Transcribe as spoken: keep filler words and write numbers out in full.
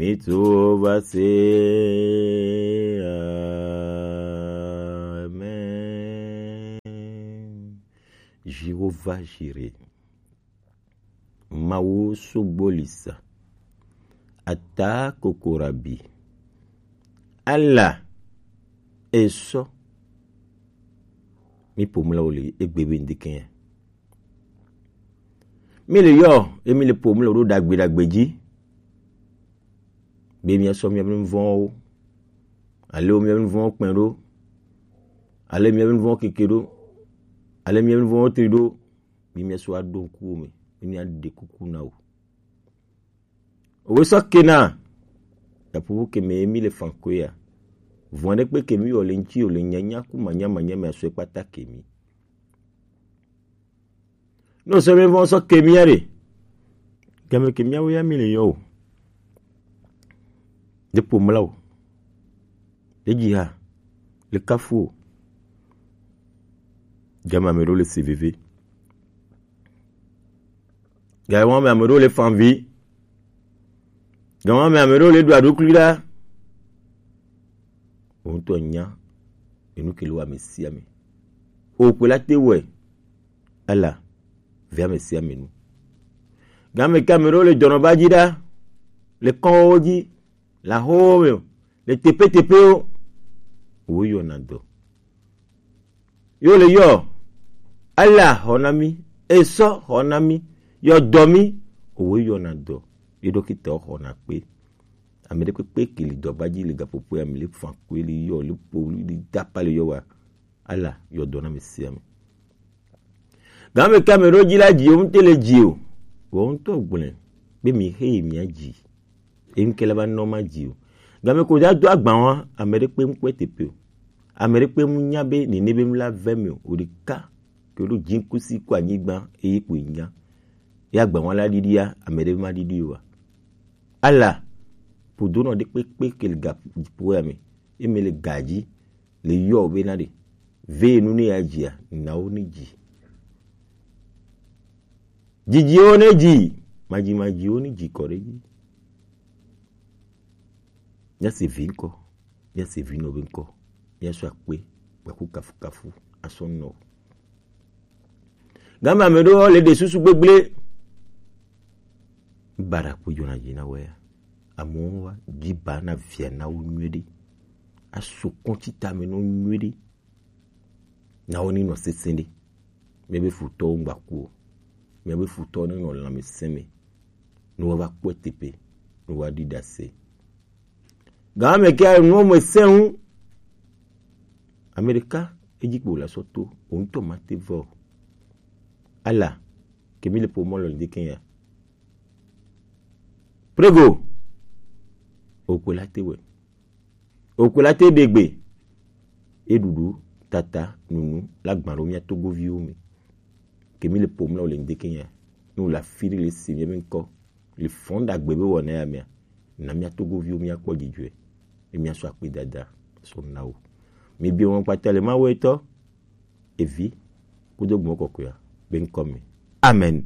Mi trouver, c'est Amen. Jéhovah Jireh. Mawu sogbolisa. Ata kokorabi. Allah. Eso. Mi pomla oli egbe be ndikenya. Mi le yɔ, emi le pomla ɖo dagbe dagbe ji. Be mi asɔ mi avin vɔn wo. Ale mi avin vɔn kpɛn ɖo. Ale mi avin vɔn keke ɖo. Ale mi avin vɔn tri ɖo. Bi mi asɔ aɖo ŋku wo me. Bi mi aɖe kuku na wo. Owe sɔ kena. Yapupu ke me emi le fankoe ya. Vɔn ɖe kpe ke mi wɔ le ŋtsi o le nyanya ku manya manya me asɔe kpata ke mi. No sɔ mi vɔn sɔ ke mi ya ɖe. Game ke mi awo ya mi le yɔ o. Ɖe pomla o. Ɖe dzi ha. Le kafu o. Game ame ɖewo le se veve. Game ame ame ɖewo le fanvi. Game ame ame ɖewo le ɖu aɖukli ɖa. Wo ŋutɔ nya enu ke le wo ame sia ame. O kpe la te wɔe. Ela ve ame sia ame nu. Game ke ame ɖewo le dɔnɔba dzi ɖa. Le kɔnwo dzi. Le ahowo me o. Le teƒeteƒewo. Wo yɔna dɔ. Yo le yɔ. Ela xɔ na mi. Esɔ xɔ na mi. Yɔ dɔ mi. Wo yɔna dɔ. Ye ɖokita xɔna kpe. Ame ɖe kpekpe ke li dɔba dzi le gaƒoƒoe ame le fan koe li yɔ le po li dapa le yɔ wa. Ala yɔ dɔ na ame sia ame. Game ke ame ɖewo dzi la dzi wo ŋute le dzi o. Wo ŋutɔ gblẽ be mi xe yi mia dzi. Eŋke la va nɔ ma dzi o. Game ko da do agba wa ame ɖe kpe ŋkpɛ teƒe o. Ame ɖe kpe ŋu nya be nene be ŋu la ve mi o. O ɖeka ke ɖo dzi kusi ko anyigba eye ko nya. Ya agba wa la ɖiɖia ame ɖe ma ɖiɖi o wa. Ala ƒodonɔ ɖe kpekpe ke le gaƒoƒoa me. Eme le ga dzi le yɔ be na ɖe. Ve nu ne ya dzia, na wo ne dzi. Dzidziwo ne dzi, madzimadziwo ne dzi kɔ ɖe dzi. Míase vi ŋkɔ, míase vi nɔ be ŋkɔ, míasɔ akpe, gbaku kafukafu, asɔ nɔ. Game ame ɖewo le ɖe susu gbegblẽ. Bara kpo dzɔna dzi na wea. Amewo wa dzi ba na via na wo nyuie ɖe. Aso kɔntsi tame nɔ nyuie ɖe. Na wo ni nɔ sesẽ ɖe. Míabe futɔwo ŋgba ku o. Míabe futɔwo ne nɔ lãmesẽ me. Ne woava kpɔe teƒe, ne woaɖi ɖase. Game ke nuwo me sẽ ŋu. Ame ɖeka edzi kpo la sɔ to, wò ŋutɔ mate va o. Ala, ke mi le ƒomɔ lɔ ŋdi ke ya. Prego, okwe la te wɛ. Okwe la te ɖe gbe. Eɖuɖu, tata, nunu, la gbã ɖo mía togoviwo me. Ke mi le ƒomɔ lɔ le ŋdi ke ya. Nu la fi ɖe le si mía be ŋkɔ. Le fɔn ɖagbe be wɔna ya mea, na mía togoviwo míakpɔ dzidzɔe, ye míasɔ akpedada sɔ na wo. Mi bi wɔn kpata le Mawu etɔ, evi, kudo gbɔn kɔkɔea be ŋkɔ me. Amen.